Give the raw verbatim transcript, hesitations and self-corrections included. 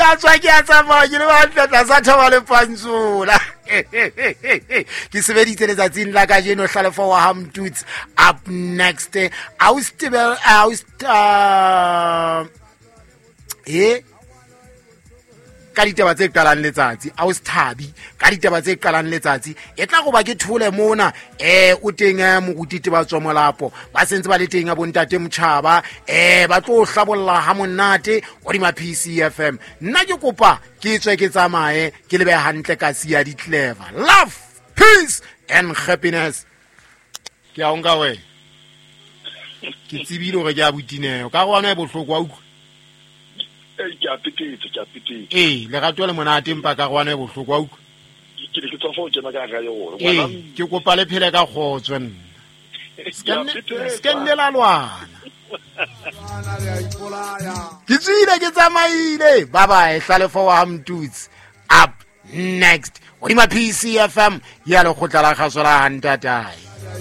a tswa ke a tsamaya ke le bantle tlasa thaba le pantsola. Ke sebeditse letsatsing la kajeno Hlalefo wa ha Mtutsi. Up next, Austibel Aust uh, e ka ditaba tse qalang letsatsi, Austhabi ka ditaba tse qalang letsatsi. E tla go ba ke thole mona eh o teng eh, moruti Tebatso Molapo ba sentse ba le teng a bontate Motjhaba eh ba tlo hlabolla ha monate hodima P C F M. Nna ke kopa ke tswe ke tsamaye ke lebe hantle ka sia di clever. Love, peace and happiness. Ke a o nka wena. Ke tsebile hore ke a botineo ka go ana e bohloko wa utlwa. Ee, ke a petetse, ke a petetse. Ee, lerato le monate empa ka go ana e bohloko wa utlwa. Ke ne ke tswa fa o kena ka hara yona. Ee, Ngwana- ke kopa le phele ka kgotso nna. Ke a petetse. Se ke nne la lwana. Ke tswile ke tsamaile. Bye bye, Hlalefo wa ha Mtutsi. Up next, hodima P C F M ya lekgotla la kgaso la ha ntatae.